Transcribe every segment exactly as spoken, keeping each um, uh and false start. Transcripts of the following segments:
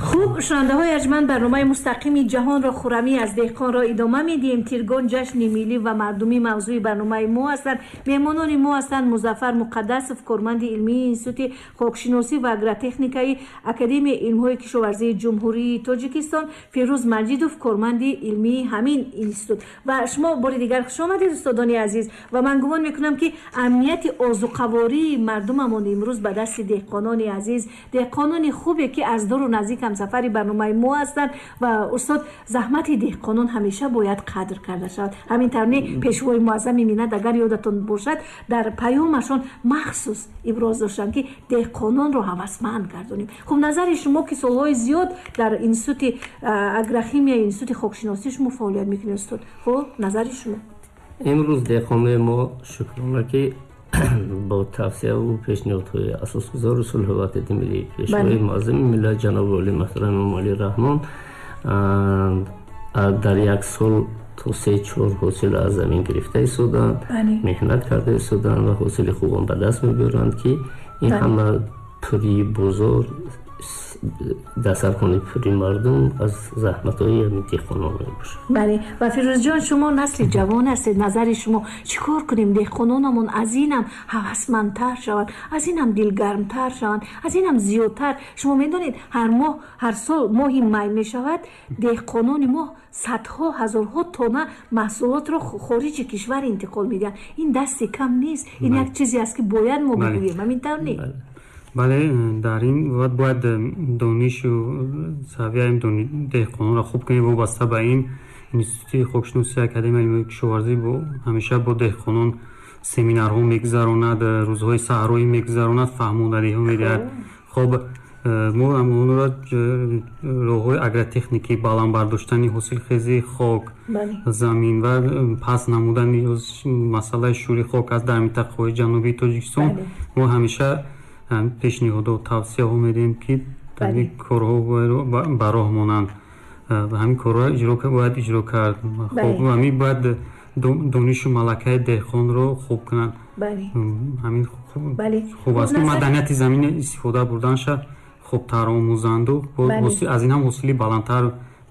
Хуб, шунавандаҳои арҷманд, барномаи мустақими ҷаҳонро хуррамӣ аз деҳқонро идома медиҳем. Тиргон ҷашни миллӣ ва мардумӣ мавзӯи барномаи мо ҳастанд. Меҳмонони мо ҳастанд Музаффар Муқаддасов, корманди илмии Институти хокшиносӣ ва агротехникаи Академияи илмҳои кишоварзии Ҷумҳурии Тоҷикистон, Фирӯз Маҷидов, корманди илмии ҳамин институт. Ва шумо бори дигар хуш омадед, устодони азиз. Ва ман гумон мекунам, ки амнияти озуқавории мардумамон имрӯз ба дасти деҳқонони азиз, деҳқонони хубе, ки аз дуру наздик ҳамсафари барномаи мо ҳастанд. Ва устод, заҳмати деҳқонон ҳамеша бояд қадр карда шавад. Ҳамин тавр не, Пешвои муаззами миллат, агар ёдатон бошад, дар паёмашон махсус иброз доштанд, ки деҳқононро ҳавасманд гардонем. Хуб, назари шумо, ки солҳои зиёд дар институти агрохимия, институти хокшиносӣ шумо фаъолият мекунед, устод, хуб, назари шумо? Имрӯз деҳқонои мо, шукрона, ки бо тавсияву пешниҳодҳои асосгузори сулҳу ваҳдати миллӣ, Пешвои муаззами миллат, ҷаноби олӣ муҳтарам Эмомалӣ Раҳмон, дар як сол то се чор ҳосил аз замин гирифта истоданд, меҳнат карда истоданд ва ҳосили хубон ба даст мебиёранд, ки ин ҳама пури бозор, дастархони пури мардум аз заҳматҳои ҳамин деҳқонон мебошад. Бале, ва Фирӯзҷон, шумо насли ҷавон ҳастед. Назари шумо, чӣ кор кунем, деҳқононамон аз инам ҳавасмандтар шаванд, аз инам дилгармтар шаванд, аз инам зиёдтар? Шумо медонед, ҳар моҳ, ҳар сол моҳи май мешавад, деҳқонони мо садҳо ҳазорҳо тонна маҳсулотро хориҷи кишвар интиқол медиҳанд. Ин дасти кам нест, ин як чизе аст, ки бояд мо бигӯем. Ҳамин тавр не? Бале, дар ин бояд донишу савияи деҳқононро хуб кунем. Вобаста ба ин, Институти хокшиносии Академияи илмҳои кишоварзӣ ҳамеша бо деҳқонон семинарҳо мегузаронад, рӯзҳои саҳроӣ мегузаронад, фаҳмондадиҳо медиҳад. Хоб, мо онро роҳҳои агротехникӣ, баланд бардоштани ҳосилхезии хок, замин ва паст намудани масъалаи шӯри хок аст дар минтақаҳои ҷанубии Тоҷикистон, мо ҳамеша пешниҳодо, тавсияҳо медиҳем, ки дар ин корҳо ба роҳ монанд. Ҳамин корҳо бояд иҷро кард. Хоб, ҳамин бояд донишу малакаи деҳқонро хуб кунанд. Ҳамин хуб аст, ки маданияти замин истифода бурданша хубтар омӯзанду аз ин ҳам ҳосили баландтар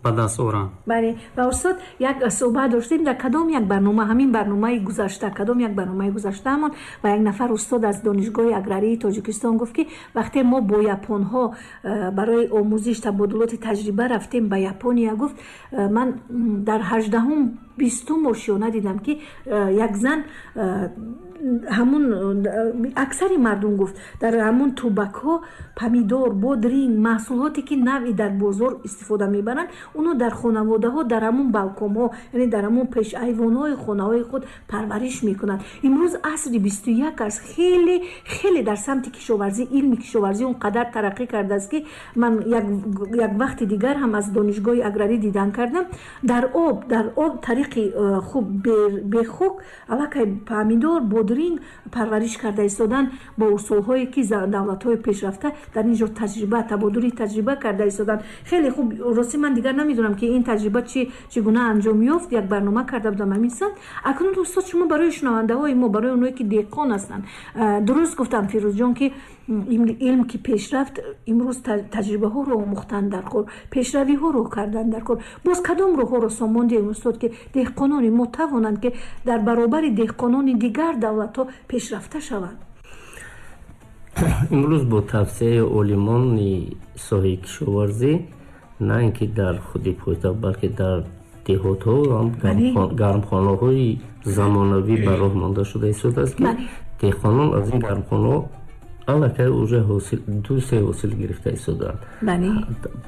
ба даст оранд. Бале, ва устод, як суҳбат доштем дар кадом як барнома, ҳамин барномаи гузашта, кадом як барномаи гузаштаамон, ва як нафар устод аз Донишгоҳи аграрии Тоҷикистон гуфт, ки вақте мо бо японҳо э, барои омӯзиш, табодулоти таҷриба рафтем ба Япония, гуфт, э, ман дар ҳаждаҳум бистум ошёна дидам, ки э, як зан, ҳамун аксари мардум, гуфт, дар ҳамун тубакҳо помидор, бодринг, маҳсулоте, ки навъи дар бозор истифода мебаранд, оно дар хонаводаҳо, дар ҳамун балконҳо, яъне дар ҳамун пешайвонҳои хонаҳои худ парвариш мекунанд. Имрӯз асри бисту як аст. Хеле хеле дар самти кишоварзӣ, илми кишоварзӣ он қадар тараққӣ кардааст, ки ман як вақти дигар ҳам аз Донишгоҳи аграрӣ дидан кардам, дар об дар об тариқи э, хуб, бехок аллакай помидор, бодринг парвариш карда истодан бо усулҳое, ки давлатҳои пешрафта дар ин ҷо таҷриба, табодули таҷриба карда истоданд. Хеле хуб. Ростӣ, ман дигар намедонам, ки ин таҷриба чи чӣ гуна анҷом ёфт. Як барнома карда будам ҳамин самт. Акнун, устод, шумо барои шунавандаҳои мо, барои оное, ки деҳқон ҳастанд, дуруст гуфтам, Фирӯзҷон, ки илм ки пешрафт, имрӯз таҷрибаҳоро омӯхтан дар кор, пешравиҳоро кардан дар кор. Боз кадом роҳҳоро сомон диҳем, устод, ки деҳқонони мо тавонанд, ки дар баробари деҳқонони дигар давлатҳо пешрафта шаванд? Имрӯз бо тавсияи олимони соҳаи кишоварзӣ, на ин ки дар худи пойтахт, балки дар деҳотҳо ҳам гармхонаҳои замонавӣ ба роҳ монда шуда истодааст, ки деҳқонон аз ин гармхонаҳо аллакай уже ҳосил, ду се ҳосил гирифта истодаанд.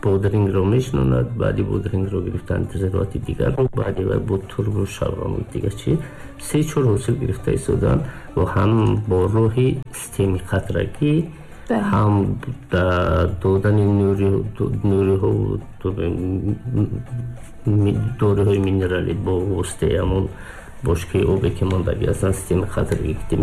Бодрингро мешинонад, баъди бодрингро гирифтан зироати дигарро, баъди вай бо турбу шалғаму дигар чи, се чор ҳосил гирифта истодаанд ва ҳам бо роҳи системи қатрагӣ, ҳам додани нуриҳо, дориҳои минералӣ бо воситаи ҳамон бошкаи обе ки мондагӣ ҳастанд, системаи қатрагӣ ки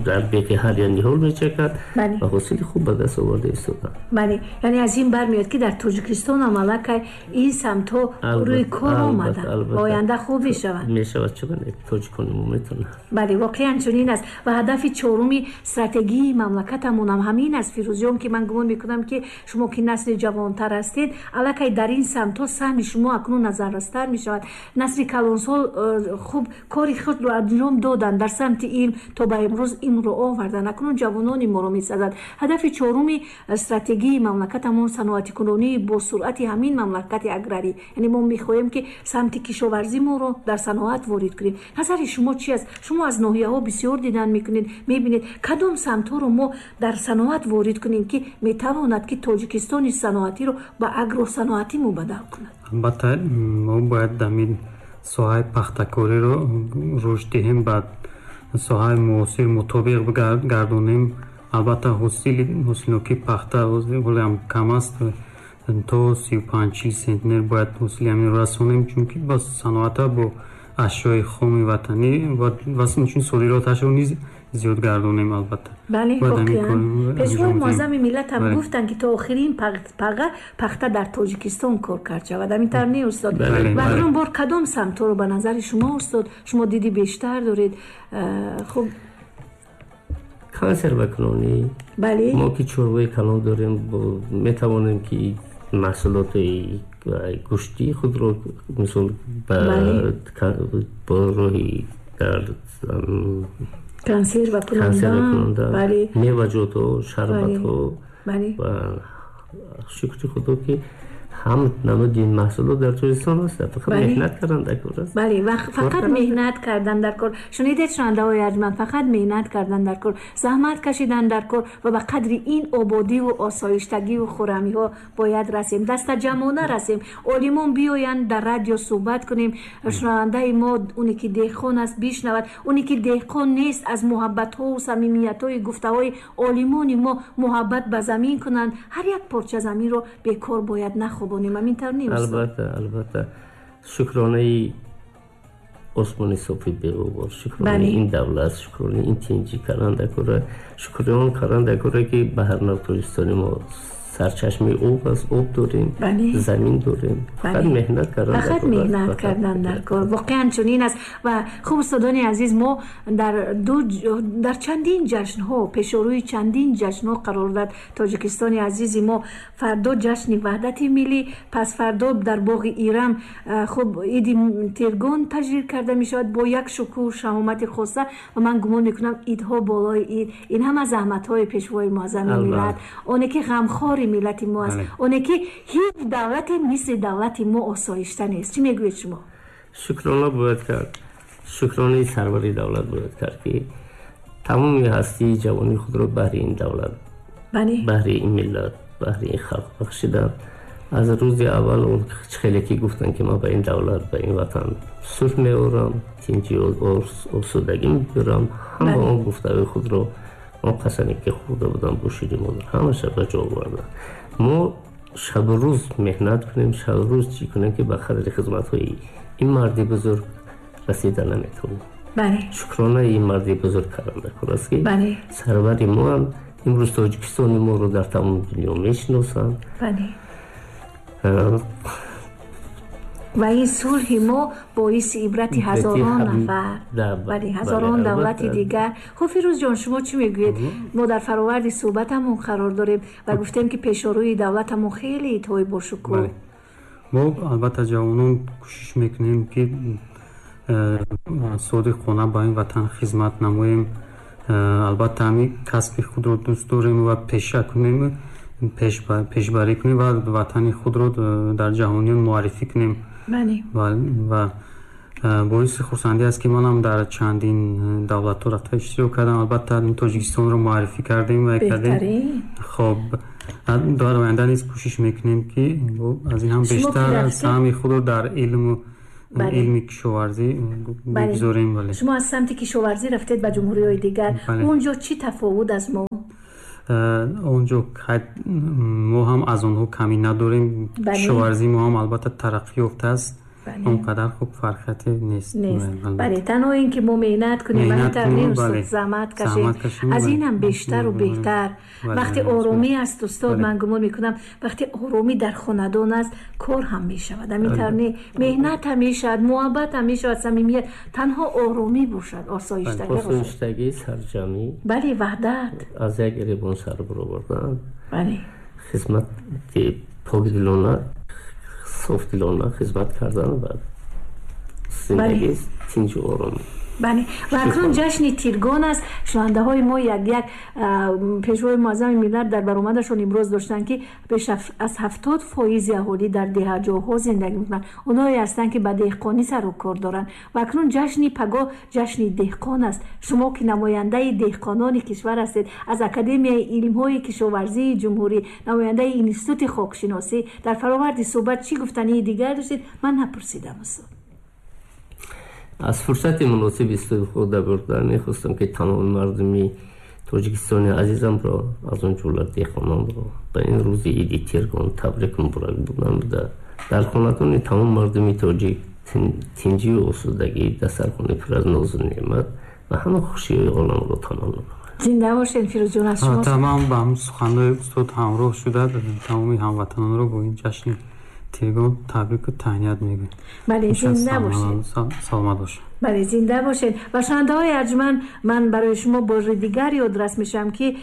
дар беқи ҳар як ниҳол мечакад ва ҳосили хуб ба даст оварда истоданд. Бале, яъне аз ин бармеояд, ки дар Тоҷикистон ҳам аллакай ин самтҳо рӯи кор омаданд ва оянда хуб мешаванд. Мешавад, чаро не, тоҷикони мо метавонанд. Бале, воқеан чунин аст ва ҳадафи чоруми стратегии мамлакатамон ҳам ҳамин аст, Фирӯзҷон, ки ман гумон мекунам, ки шумо ки насли ҷавонтар ҳастед, аллакай дар ин самтҳо саҳми шумо акнун назаррастар мешавад. Насли калонсол э, хуб кори худро анҷом доданд дар самти илм, то ба имрӯз илмро оварданд. Акнун ҷавонони моро месазад. Ҳадафи чоруми стратегии мамлакатамон саноатикунонии бо суръати ҳамин мамлакати аграрӣ, яъне мо мехоҳем, ки самти кишоварзӣ моро дар саноат ворид кунем. Назари шумо чи аст? Шумо аз ноҳияҳо бисёр дидан мекунед, мебинед, кадом самтҳоро мо дар саноат ворид кунем, ки метавонад, ки Тоҷикистони саноатиро ба агросаноатӣ мубаддал кунад? Албатта, мо бояд ҳамин соҳаи пахтакориро рушд диҳем, ба соҳаи муосир мутобиқ гардонем. Албатта, ҳосили ҳосилнокии пахта ҳолиам кам аст, то сию панҷ чил сентнер бояд ҳосили ҳаминро расонем, чунки ба саноата бо ашёи хоми ватанӣ ва инчунин содироташро низ зиёд гардонем, албатта. Бале, воқеан Пешвои муаззами миллат ҳам гуфтанд, ки то охирин паға пахта дар Тоҷикистон кор кард шавад. Ҳамин тавр не, устод? Ва акнун бор кадом самтҳоро ба назари шумо, устод, шумо диди бештар доред, хуб? Консервакунонӣ. Бале. Мо ки чорвои калон дорем, метавонем, ки маҳсулоти гӯштии худро, мисол, бо роҳи дар консерва кунонда, меваҷотҳо, шарбатҳо ва шукри Худо, ки ҳам намуди ин маҳсулот дар Тоҷикистон аст. Фақат меҳнат кардан дар кор аст. Бале, ва фақат меҳнат кардан дар кор. Шунидед, шунавандаҳои арҷманд, фақат меҳнат кардан дар кор, заҳмат кашидан дар кор ва ба қадри ин ободиву осоиштагиву хуррамиҳо бояд расем, дастаҷамъона расем. Олимон биёянд, дар радио суҳбат кунем, шунавандаи мо, оне ки деҳқон аст, бишнавад, оне ки деҳқон нест, аз муҳаббатҳову самимиятҳои гуфтаҳои олимони мо муҳаббат ба замин кунанд. Ҳар як порча заминро бекор бояд нахобонем. Ҳамин тавр не? Албатта, албатта, шукронаи осмони софи беғубор, шукронаи ин давлат, шукронаи ин тинҷӣ кардан дар кора, шукри он кардан дар кора, ки ба ҳар нав Тоҷикистони мо сарчашмаи об аст, об дорем, замин дорем. Фақат меҳнат кардан. Фақат меҳнат кардан дар кор, воқеан чунин аст. Ва хуб, устодони азиз, мо дар ду дар чандин ҷашнҳо, пешорӯи чандин ҷашнҳо қарор дод Тоҷикистони азизи мо. Фардо ҷашни Ваҳдати миллӣ, пас фардо дар боғи Ирам хуб иди Тиргон таҷлил карда мешавад бо як шукӯҳу шаҳомати хоса. Ва ман гумон мекунам, идҳо болои ид, ин ҳама заҳматҳои Пешвои муаззами миллат, оне ки ғамхори миллати мо аст, оне ки ҳеҷ давлате мисли давлати мо осоишта нест. Чӣ мегӯед шумо? Шукрона бояд кард, шукронаи сарвари давлат бояд кард, ки тамоми ҳастии ҷавонии худро баҳри ин давлат, баҳри ин миллат, баҳри ин халқ бахшиданд. Аз рӯзи аввал он хеле ки гуфтанд, ки ман ба ин давлат, ба ин ватан сулҳ меорам, тинҷи, осудагӣ мебирам, ҳама он гуфтаҳои худро, он қасаме ки хӯрда будам бо шири модар, ҳамаша ба ҷо оварданд. Мо шабу рӯз меҳнат кунем, шабу рӯз чӣ кунем, ки ба қадри хизматҳои ин марди бузург расида наметавонем. Шукронаи ин марди бузург кардан дар кор аст, ки сарвари моам. Имрӯз Тоҷикистони моро дар тамоми дунё мешиносанд. Ва ин сулҳи мо боиси ибрати ҳазорон нафар, бале, ҳазорон давлати дигар. Хуб, Фирӯзҷон, шумо чӣ мегӯед? Мо дар фароварди суҳбатамон қарор дорем ва гуфтем, ки пешорӯи давлатамон хеле идҳои бошукӯҳ. Мо, албатта, ҷавонон кӯшиш мекунем, ки содиқона ба ин ватан хизмат намоем. Албатта, ҳамин касби худро дӯст дорем ва пеша кунем, пешбарӣ кунем ва ватани худро дар ҷаҳониён муаррифӣ кунем. Ва боиси хурсандӣ аст, ки манам дар чандин давлатҳо рафта иштирок кардам. Албатта, Тоҷикистонро муаррифӣ кардем ва кардем. Хоб, дар оянда низ кӯшиш мекунем, ки аз ин ҳам бештар саҳми худро дар илму илми кишоварзӣ бигзорем. Бале, шумо аз самти кишоварзӣ рафтед ба ҷумҳуриҳои дигар. Он ҷо чӣ тафовут аз мо? Он ҷо мо ҳам аз онҳо камӣ надорем. Кишоварзии мо ҳам, албатта, тараққӣ ёфтааст. Он қадар хуб фарқияте нест. Бале, танҳо ин ки мо меҳнат кунем, устод, заҳмат кашем, аз ин ҳам бештару беҳтар. Вақте оромӣ аст, устод, ман гумон мекунам вақте оромӣ дар хонадон аст, кор ҳам мешавад. Ҳамин тавр не, меҳнат ҳам мешавад, муҳаббат ҳам мешавад, самимият. Танҳо оромӣ бошад, осоиштагӣ бошад. Осоиштагӣ, сарҷамӣ. Бале, ваҳдат. Аз як гиребон сар баровардан. Бале. Хизмати покдилона, софдилона хизмат кардан ва зиндагӣ тинҷу ором. Бале, ва акнун ҷашни Тиргон аст. Шунавандаҳои мо як як пешвои муаззами миллат дар баромадашон имрӯз доштанд, ки беш аз ҳафтод фоизи аҳолӣ дар деҳаҷоҳо зиндагӣ мекунанд. Онҳое ҳастанд, ки ба деҳқонӣ сару кор доранд. Ва акнун ҷашни пагоҳ ҷашни деҳқон аст. Шумо ки намояндаи деҳқонони кишвар ҳастед, аз Академияи илмҳои кишоварзии ҷумҳурӣ, намояндаи институти хокшиносӣ, дар фароварди суҳбат чӣ гуфтании дигар доштед? Ман напурсидам, устод. Аз фурсати муносиб истифода бурда мехостам, ки тамоми мардуми тоҷикистони азизамро, аз он ҷумла деҳқононро ба ин рӯзи иди Тиргон табрик муборак намуда, дар хонадони тамом мардуми тоҷик тинҷию осудагӣ, дастархони пур аз нозу неъмат ва ҳама хушиҳои оламро таманно намоям. Зинда бошед, Фирӯзҷон, аз шумо. Тамом ба ҳам суханҳои устод ҳамроҳ шуда, тамоми ҳамватанонро бо ин ҷашни Тиргон табрику таҳният мегӯем. Бале, зинда бошед. Саломат бошед. Бале, зинда бошед. Ва шунавандаҳои арҷманд, ман барои шумо бори дигар ёдрас мешавам, ки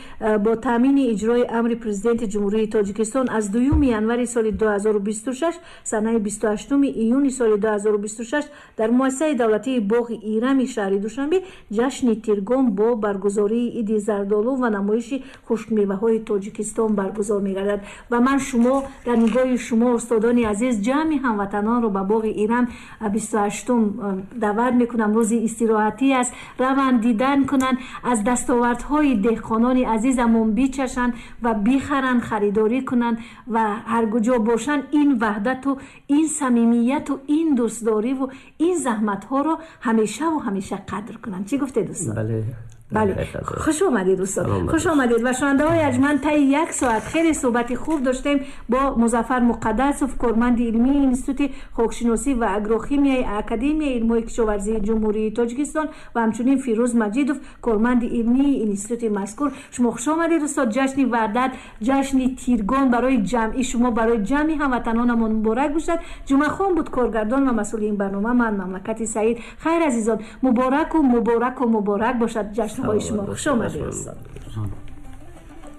бо таъмини иҷрои амри Президенти Ҷумҳурии Тоҷикистон аз дуюми январи соли ду ҳазору бисту шаш санаи бисту ҳаштуми июни соли ду ҳазору бисту шаш дар муассисаи давлатии боғи Ирами шаҳри Душанбе ҷашни Тиргон бо баргузории иди зардолу ва намоиши хушкмеваҳои Тоҷикистон баргузор мегардад. Ва ман шумо дар нигоҳи шумо, устодони азиз, ҷамъи ҳамватанонро ба боғи Ирам бисту ҳаштум даъват мекунам. Рӯзи истироҳатӣ аст, раванд, дидан кунанд, аз дастовардҳои деҳқонони азизамон бичашанд ва бихаранд, харидорӣ кунанд ва ҳар куҷо бошанд ин ваҳдату ин самимияту ин дӯстдориву ин заҳматҳоро ҳамешаву ҳамеша қадр кунанд. Чӣ гуфтед, устод? Бале. Бале, хуш омадед, устод, хуш омадед. Ва шунавандаҳои арҷманд, таи як соат хеле суҳбати хуб доштем бо Музаффар Муқаддасов, корманди илмии Институти хокшиносӣ ва агрохимияи Академияи илмҳои кишоварзии Ҷумҳурии Тоҷикистон ва ҳамчунин Фирӯз Маҷидов, корманди илмии институти мазкур. Шумо хуш омадед, устод. Ҷашни Ваҳдат, ҷашни Тиргон барои ҷамъи шумо, барои ҷамъи ҳамватанонамон муборак бошад. Ҷумъахон буд коргардон ва масъули ин барнома. Ман Мамлакати Саид. Хайр, азизон, мубораку мубораку муборак бошад ҷашнҳои шумо. Хуш омадед, устод.